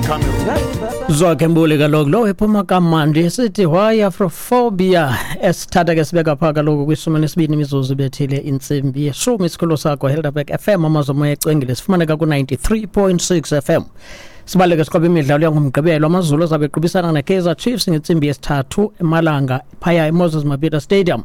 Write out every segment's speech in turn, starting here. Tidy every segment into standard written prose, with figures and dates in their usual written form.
Cameroon. Zwakhe Mbuli kaloku lo ephuma kamandi sithi why Afrophobia, esithatha ke sibeka phaa kaloku kwishumi nesibini imizuzu bethile intsimbi yeshumi. Isikhululo sakho Helderberg FM, amazomoya ecwengile, sifumaneka ku-93.6 FM. Sibaleke siqoba imidlalo yangoMgqibelo. AmaZulu azabe equbisana neKaizer Chiefs ngentsimbi yesithathu emalanga phaya eMoses Mabhida Stadium.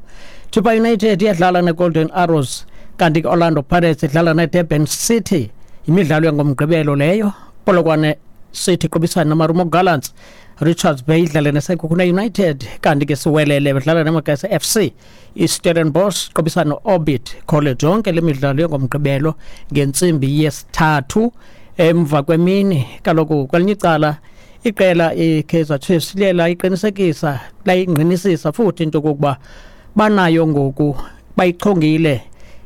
Chippa United iyadlala neGolden Arrows, kanti ke-Orlando Pirates idlala neDurban City. Imidlalo yangoMgqibelo leyo. Polokwane City iqubisana noMarumo Gallants, Richards Bay idlale neSekhukhune United, kanti ke Siwelele bedlala neMagesi FC. IStellenbosch iqubisana no-Orbit College. Yonke le midlalo yangomgqibelo ngentsimbi yesithathu emva kwemini. Kaloku kwelinye icala iqela iKaizer Chiefs liye layiqinisekisa, layingqinisisa futhi into yokokuba banayo ngoku, bayichongile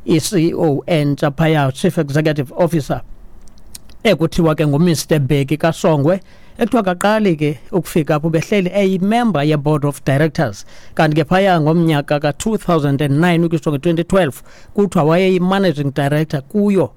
i-CEO entsha phaya, Chief Executive Officer, ekuthiwa ke nguMr Bheki kaSongwe, ekuthiwa kaqali ke ukufika apho, behleli eyimember ye-board of directors. Kanti ke phaya ngomnyaka ka-2009 ukutsho nge-2012 kuthiwa wayeyi-managing director kuyo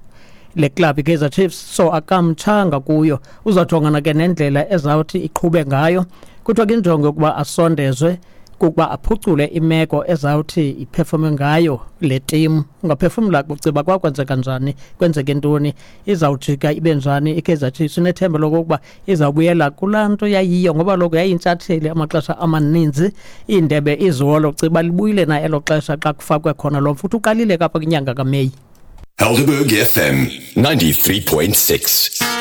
le club iKaizer Chiefs, so akamtshanga kuyo. Uzawujongana ke nendlela ezawuthi iqhube ngayo. Kuthiwa ke injongo yokuba asondezwe kukuba aphucule imeko ezawuthi iperforme ngayo le team. Ungaphefumla kuciba kwakwenzeka njani, kwenzeke ntoni, izawujika ibe njani iKaizer Chiefs. Unethemba lokokuba izawubuyela kulaa nto yayiyo, ngoba loko yayintshatheli amaxesha amaninzi, iindebe izolo. Ciba libuyile na elo xesha xa kufakwe khona lo futhi uqalile kapha kwinyanga kaMeyi. Helderberg FM 93.6.